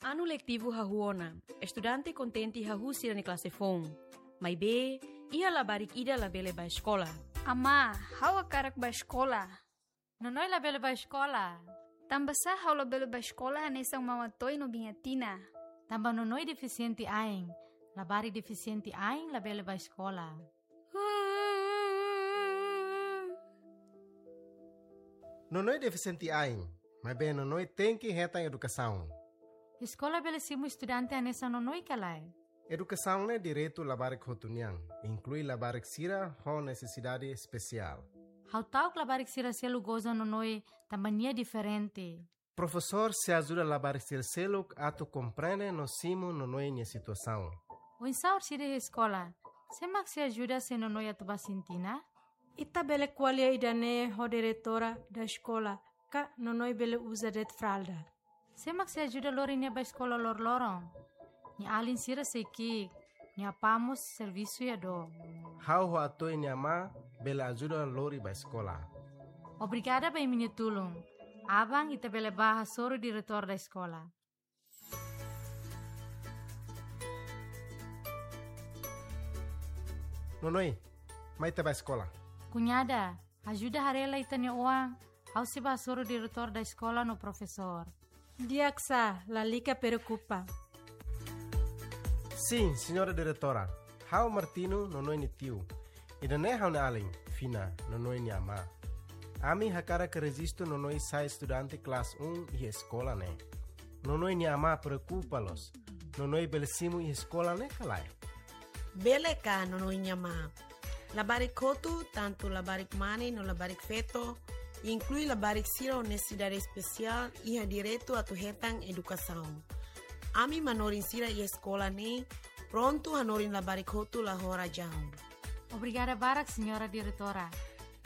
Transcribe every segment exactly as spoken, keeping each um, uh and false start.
Anu letivu hahú ona, estudante kontente hahú sira-nia klase foun. Maibé, iha labarik ida labele bá eskola. Amá, ha'u hakarak bá eskola. Nonoi labele bá eskola. Tanbasá ha'u labele bá eskola hanesan Mama Toy no Biña Tina? Tanba Nonoi defisiente ain. Labarik defisiente ain labele bá eskola. Nonoi defisiente ain, maibé Nonoi tenke hetan edukasaun. Eskola bele simu estudante hanesan Nonoi ka lae? Edukasaun ne'e direitu labarik hotu nian, inklui labarik sira ho nesesidade espesiál. Ha'u ta'uk labarik sira seluk goza Nonoi tanba nia diferente. Profesór sei ajuda labarik sira seluk atu komprende no simu Nonoi nia situasaun. Oinsá orsida iha eskola? Sé mak sei ajuda se Nonoi atu bá Sintina? Ita bele ko'alia ida-ne'e ho diretora da eskola, ka Nonoi bele uza de'it fralda. Sé mak sei ajuda lori nia bá eskola loroloron? Nia alin sira sei ki'ik, nia apá mós servisu iha dook. Ha'u ho Atoy nia amá bele ajuda lori bá eskola. Obrigada ba imi-nia tulun. Aban ita bele bá hasoru diretór da eskola. Nonoi, mai ita bá eskola. Kuñada, ajuda haree lai ita-nia oan, ha'u sei bá hasoru diretór da eskola no profesór. Di'ak sá, lalika preokupa. Sin, señora diretora. Ha'u Martino, Nonoi nia tiu. Ida-ne'e ha'u-nia alin, Fina, Nonoi nia amá. Ami hakarak rejistu Nonoi sai estudante klase um iha eskola ne'e. Nonoi nia amá preokupa loos. Nonoi bele simu iha eskola ne'e ka lae? Bele ka, Nonoi nia amá? Labarik hotu, tantu labarik mane no labarik feto, inklui labarik sira ho nesesidade espesiál, iha direitu atu hetan edukasaun. Ami manorin sira iha eskola ne'e prontu hanorin labarik hotu la ho razaun. Obrigada barak, señora diretora.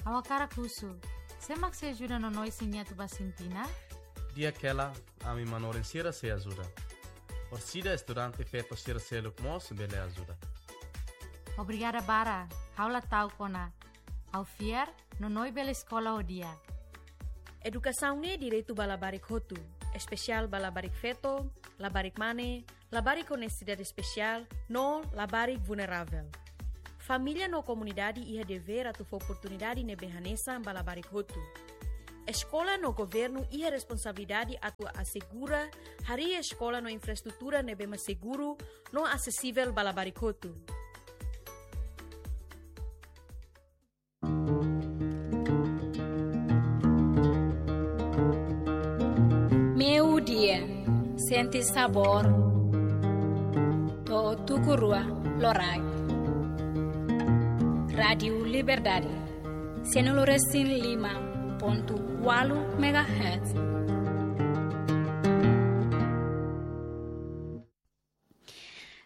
Ha'u hakarak husu, sé mak sei ajuda Nonoi se nia atu bá Sintina? Di'ak hela, ami manorin sira sei ajuda. Orsida estudante feto sira seluk mós bele ajuda. Obrigada barak, ha'u la ta'uk ona. Ha'u fiar, Nonoi bele eskola ho di'ak. Edukasaun ne'e direitu ba labarik hotu, espesiál ba labarik feto, labarik mane, labarik ho nesesidade espesiál, no labarik vulneravel. Família no komunidade iha devér atu fó oportunidade ne'ebé hanesan ba labarik hotu. Eskola no governu iha responsabilidade atu asegura harii eskola no infraestrutura ne'ebé mak seguru no asesivel ba labarik hotu. Meiudia, sente sabór to'o tuku rua loraik. Rádiu Liberdade, cento e cinco e cinco ponto oito megahertz.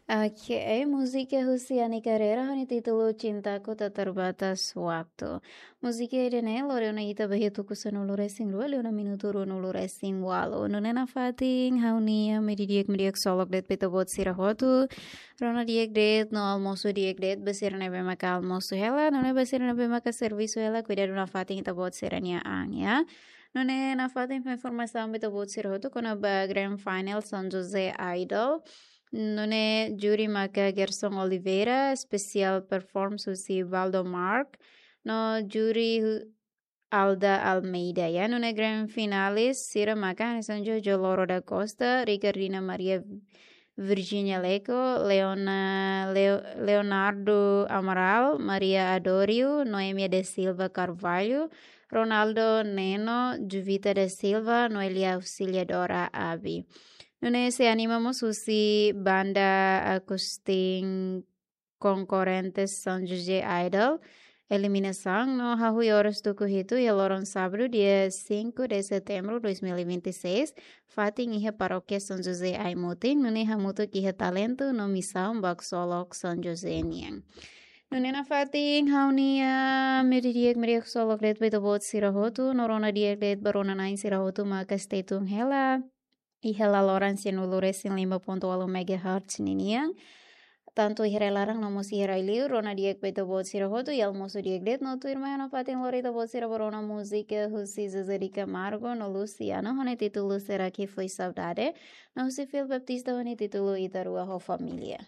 Ok, múzika husi Ani Carreira, ho nia títulu Cintaku Tak Terbatas Waktu. Múzika ida-ne'e lori ona ita ba iha tuku sanulu-resin-rua, liu ona minutu ruanulu-resin-ualu. Nune'e nafatin, ha'u-nia aman di'ak, aman di'ak ksolok de'it ba ita-boot sira hotu. Rona di'ak de'it, no almosu di'ak de'it, ba sira ne'ebé maka almosu hela, nune'e ba sira ne'ebé maka servisu hela, kuidadu nafatin ita-boot sira-nia an, ya. Nune'e nafatin fó informasaun ba ita-boot sira hotu kona-ba Grand Final São José Idol. Nune'e júri maka Gerson Oliveira, special performance husi Valdo Mark, no júri hu-, Alda Almeida, ya. Nune'e grand finalist sira maka hanesan Jojo Loro da Costa, Ricardina Maria Virginia Leco, Leona-, Leo-, Leonardo Amaral, Maria Adório, Noemia da Silva Carvalho, Ronaldo Neno, Juvita da Silva, Noelia Auxiliadora Abi. Nune'e sei anima mós husi banda Agustin Konkorrentes São José Idol, eliminasaun no hahú iha oras tuku hitu iha loron sábadu, dia cinco de setembro dois mil e vinte e seis, fatin iha Parókia São José Aimutin, nune'e hamutuk iha talentu no misaun ba ksolok São José nian. Nune'e nafatin ha'u-nia aman di'ak, aman di'ak ksolok de'it ba ita-boot sira hotu, no rona di'ak de'it ba rona-na'in sira hotu maka stay tune hela iha laloran cento e cinco e cinco ponto oito megahertz ninian. Tantu iha rai laran no mós iha rai liur, rona di'ak ba ita-boot sira hotu, i almosu di'ak de'it, no tuirmai ha'u nafatin lori ita-boot sira ba rona múzika husi Zezé de Camargo no Luciano, ho nia títulu Será que foi saudade, no husi Phil Baptista ho nia títulu Ita Rua ho Família.